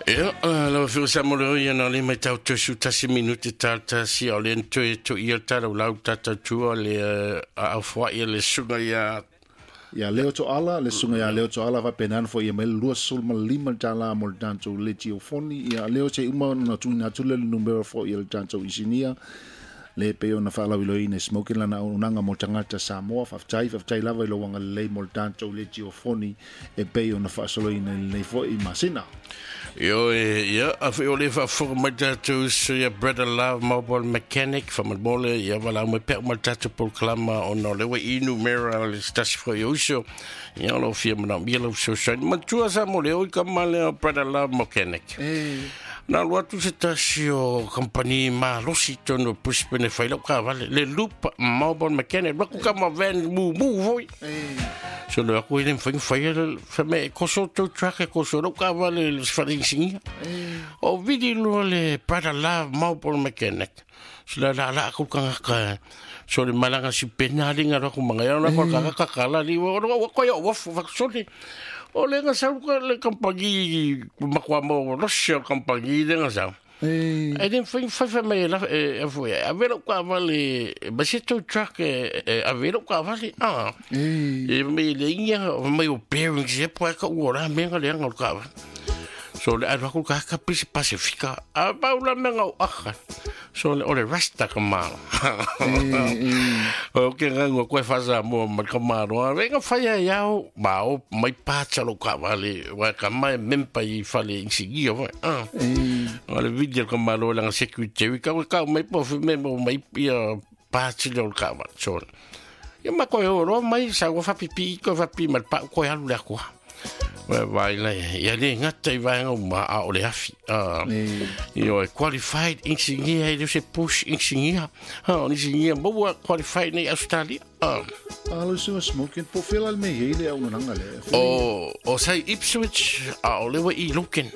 Ia, lau afioga sa mo le oi na le mai tau tosu tasi minute tal tasi o le toe to ia tala lau tata tua le a au foi le suga ia ia Leo Toala, le suga ia Leo Toala va penan fo ia mai 25 tala mo le tatou le tiofoni ia Leo se uma na tuina atu le numero fo ia le tatou isinia le pe ona whaalauiloina smoking lana unanga mo tangata Samoa whaftai whaftai lava i lo wanga lei mo le tatou le tiofoni e pe ona whaasoloina le fo i masina. Io ia a foi o le faafofoga mai tatou so ia Brother Love Mobile Mechanic faamolemole ia valaau mai pea uma le tatou polokalama ona o le ua i numera le se tasi foi o uso ia o loo fia manaomia lau fesoasoani matua sa mo le oi kama lea Brother Love Mechanic. Na alu atu se tasi o kampani malosi tonu o Brisbane e fai lau kavale le Loop Mobile Mechanic laku kama van mumu foi. So le aku ile mfai fai le fa me e koso tow truck e koso lau kavale le sfarinsingia. O vidi lo le Brother Love Mobile Mechanic. So la la la aku kanga so le malanga si pena linga ro ku manga ya na ko ka ka ka la li o o ko yo wo fa so le o le nga sa ko le kampangi makwa mo lo se kampangi le nga sa. E den fai fai fai mai la e foi a velo ka vale ba se tow truck e a velo ka vale a. E me le inga mai o bearings e po ka o ra me nga le nga ka. So le alu aku ka ka pisi Pasifika a paula me nga o aka. So le o le rasta ka malo. O ke nga ngo koe fasa mo ma ka malo. A venga fai ai au ma o mai pacha lo ka vale wa ka mai mempa i fale insigia wa. Ah. O le video ka malo la security ka ka mai po fi me mo mai ia pacha lo ka vale. So ia ma koe o ro mai sa wa fa pipi ko fa pi ma pa ko alu le akua. Wa vai le ia le ngata i vaenga uma a o le afi. Io e qualified engineer e se push engineer. Ha, o engineer mo qualified nei Australia. A lo suga smoking po fela le me hele au nanga le. O sai Ipswich a o lewa i Lucan.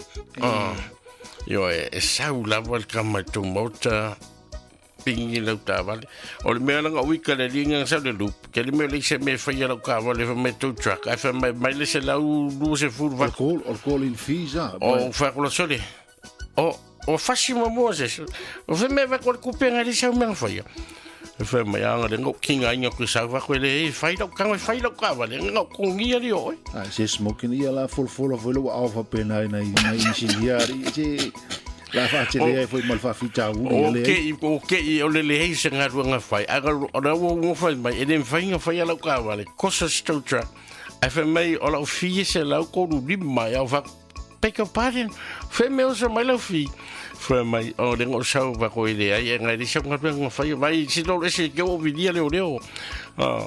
Io e sau lava le kama tu mota pingi lau tavale. O le mea langa uika le linga sa le loop. Ke le mea le se me whaia lau kavale fa me tow truck. Ai fa mai mai le se lau lu se furu va. O call in fees ah. O fa ko sole. O fasi mo mo se. O fa me va ko kupenga le sau mea whaia. Fa mai anga le ngo kinga inga ku sau va ko le fai lau kanga fai lau kavale ngo kongia li oi. Ah se smoking ia la fol fol fo lo au fa pena na na insinia se la fa te le foi mal fa fita u le. O ke o le le se ngaruanga fai. Aga o la wo ngo fai mai e le fai nga fai ala ka vale. Kosa stotra. Ai fa mai o la fi se la ko lu li mai au fa peka paren. Fe me o se mai la fi. Fe mai o le ngo sau va ko ile ai ngai le sa ngaruanga fai mai si lo se ke o vidia le o leo.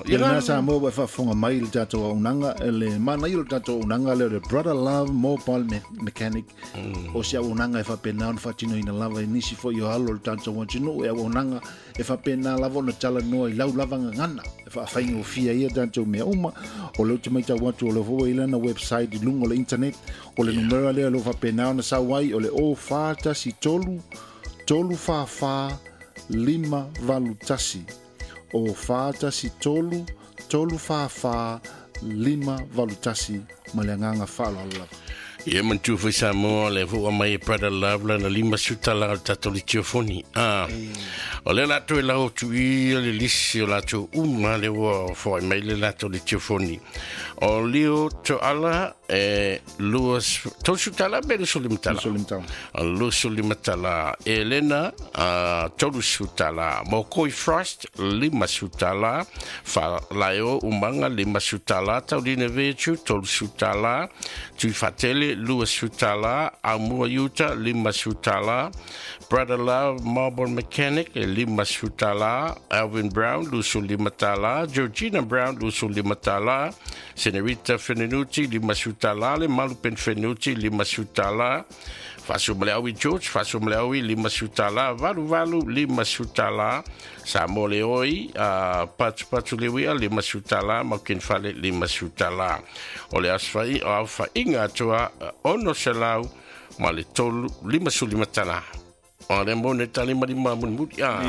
Ia na sa mo wa fa fonga mai le tatou unanga le mana i le tatou unanga le Brother Love Mobile Mechanic. O se unanga e fa pena on fatino ina lava e nisi fo i alo le tatou antino e unanga e fa pena lava no tala no i lau lava ngana e fa faingo fia ia tatou me uma o le mai tau atu o le fo i lana website i lungo le internet o le numero le lo fa pena on sa wai o le o fa tasi tolu tolu fa fa lima valu tasi o fa tasi tolu tolu fa fa lima valu tasi ma le nganga fa la la. Ia mantu foi Samoa le fua mai Brother Love la lima suta la tatou le tiofoni. O le latou e lau tu i le lisi o latou uma le ua foi mai le latou le tiofoni. O lio to ala e luas tosu tala be le sulimatala. O sulimatala Elena a tolu sutala Mokoi Frost lima sutala fa laio umanga lima sutala tauline vetu tolu sutala Tuifatele lua sutala Amua Yuta lima sutala Brother Love Mobile Mechanic lima sutala Alvin Brown lusu lima tala Georgina Brown lusu lima tala Senorita Fenenuti lima sutala le Malupen Fenuti lima sutala Faso Mleawi George Faso Mleawi lima sutala Valu Valu lima sutala Samo Leoi Patu Patu Lewia lima sutala Maukin Fale lima sutala O le asfai o alfa inga atoa ono selau ma le tolu lima su lima tala. O le mo ne tali mari ma mun muri a.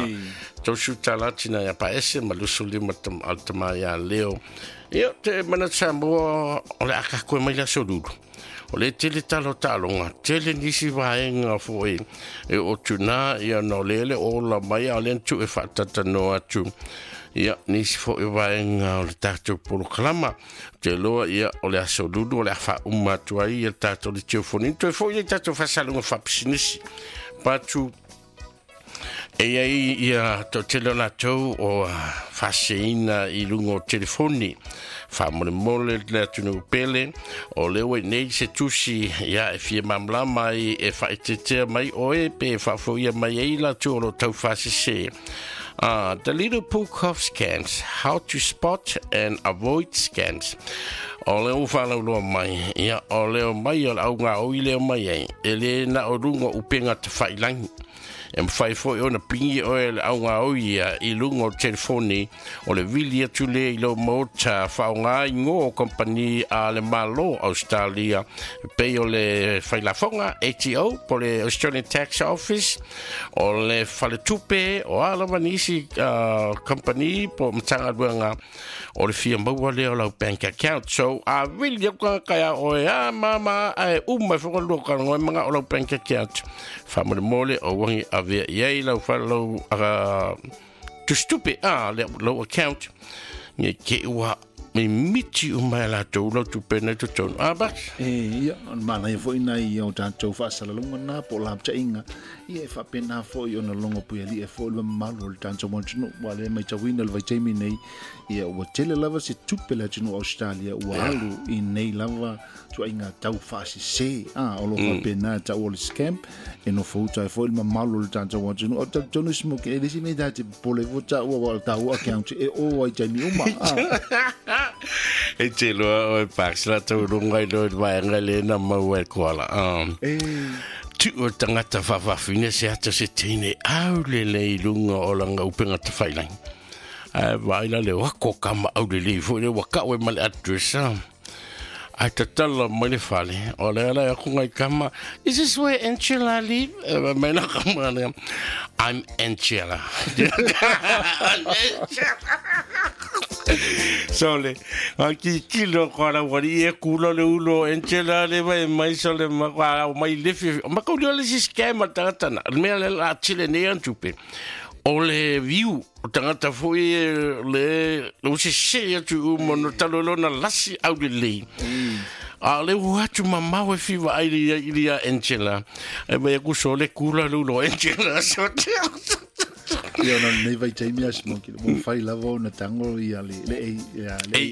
Tausu tala tina ia pa ese ma lusu lima al tama ia leo. Ia te mana Samoa o le aka koe mai la solulu. O le tele talo talonga, tele nisi vaenga foi e o tuna ia no lele o la mai a le tu e whaatata no atu. Ia nisi foi vaenga o le tātou polokalama. Te loa ia o le aso lulu o le awha uma atu ai ia tātou le teofoni. Toe foi ia tātou whasalunga whapisinisi. Patu e ai ia tō tele o lātou o whaseina i lunga o telefoni. Wha mole le atunu pele o leo e nei se tusi ia e fia mamlama ai e whaetetea mai oe pe whaafoia mai ei lātou o lo tau whasese. The Little Book of Scams, How to Spot and Avoid Scams. O leo whalau loa mai, ia o leo mai o au ngā oi leo mai ai, e le na o runga upenga te whailangi. E mwhai foi ona pingi oe le au ngā oi ia i lunga o telefoni o le vili atu le i lo mota whao ngā ingo o kompani a le Malo Australia. Pei o le whailafonga ATO, po le Australian Tax Office, o le whaletupe, o alawa nisi kompani po matanga luanga o le fia maua leo lau bank account. So, a vili au ka kaya oe a mama a uma whakalua ka ngoi mga o lau bank account. Whamole mole o wangi avea iai lau whalau tustupe a lau account. Nge ke ua me miti o mai lātou lau tupe nei totonu. A bak? E, ia, mana ia foi nai o tātou whaasalalunga nā po lā inga. Ia e whapena foi o na longo pui ali e foi le malu o le tātou montunu. Wa le mai tawina le vaitaimi nei. Ia ua tele lava se tupe le atunu Australia ua alu i nei lava tua inga tau whaasise. A, o lo whapena tau o le scam. E no fauta e foi le mamalu o le tātou montunu. O tau smoke e lisi me tāte pole fo tau o tau account e o ai taimi uma. E te loa o e paks la tau runga i loa vaenga le na mau e koala. Tu o tangata whawhawhine se ata se teine au le le i lunga o langa upenga te whailangi. Ai vaila le wako kama au le le fo le waka o e male address. Ai tatala mai le fale. O le ala aku ngai kama, is this where Angela live? Mai na kama le, I'm Angela. So le, a ki kilo ko la wari e kulo le ulo Angela le vai mai so le ma wa mai le fi ma ko le si scam tangata na me le la chile ne an tupe. O le viu o tangata foi le lo se se atu mo no talo na lasi au le le. A le atu mamau e fiwa ai le Angela. E mai ku so le kula le ulo Angela so. Ia ona nei vai taimi a smoki mo fai lava ona tango ia le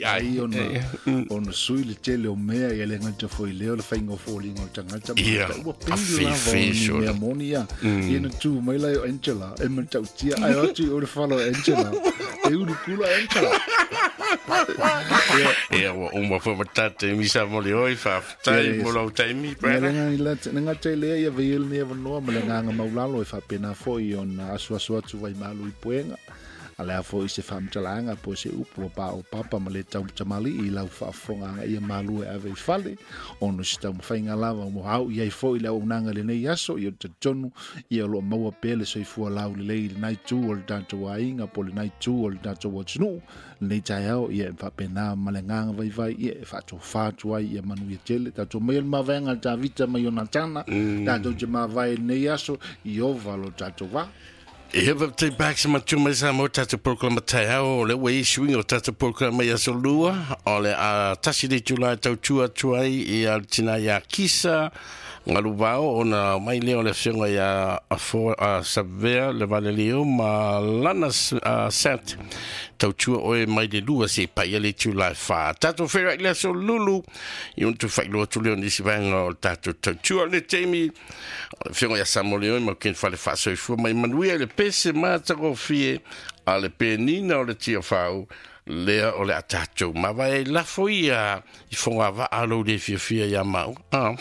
AI ona sui le tele o mea ia le ngata foi leo le fainga fo linga o tangata ua pili lava o mea moni ia ia na tu mai lai o Angela e matautia ai atu o le falo Angela e uru kula Angela. Ia ua uma fo matate misa mo le oi whaftai mo lau taimi. Nga te lea ia veil ni avanoa ma le nganga maulalo e whapena foi ona asuasu atu vai malu i puenga. A lea foi se whamtalanga po se upu o pa o papa ma le tau tamali i lau whaafonga ia malu e ave i fale. Ono se tau mawhainga lava mo hau i ai foi le au unanga le nei aso i o te tonu i o lo maua pele soifua lau le lei le nai tū o le tātou ainga po le nai tū o le tātou atunu. Nei tai au ia e whapena ma le nganga vai vai ia e whaato whātu ai ia manu ia tele. Tātou mai el mawenga tā vita mai o Natana. Tātou te mawai nei aso i ova lo tātou wā. E hapa te bak sa matu mai sa mo tātou programa tai au, o le ua swing o tātou programa ia so lua, o le a tasi le tula tau tua tuai i a tina ia kisa, ngalu vao, ona mai leo le whionga ia a Savea le Valelio ma lana sant tau tua oe mai le lua se pai le tula wha. Tātou whera i le so lulu, i untu whailua tu leo nisi vaenga o tātou tau tua le teimi, o le whionga ia Samoleo ma ken whale whasoifua mai manuia le pese mātako fie a le penina o le tia whau, lea o le atatou. Ma vai lafo ia i whonga waa lau le fia fia ia mau.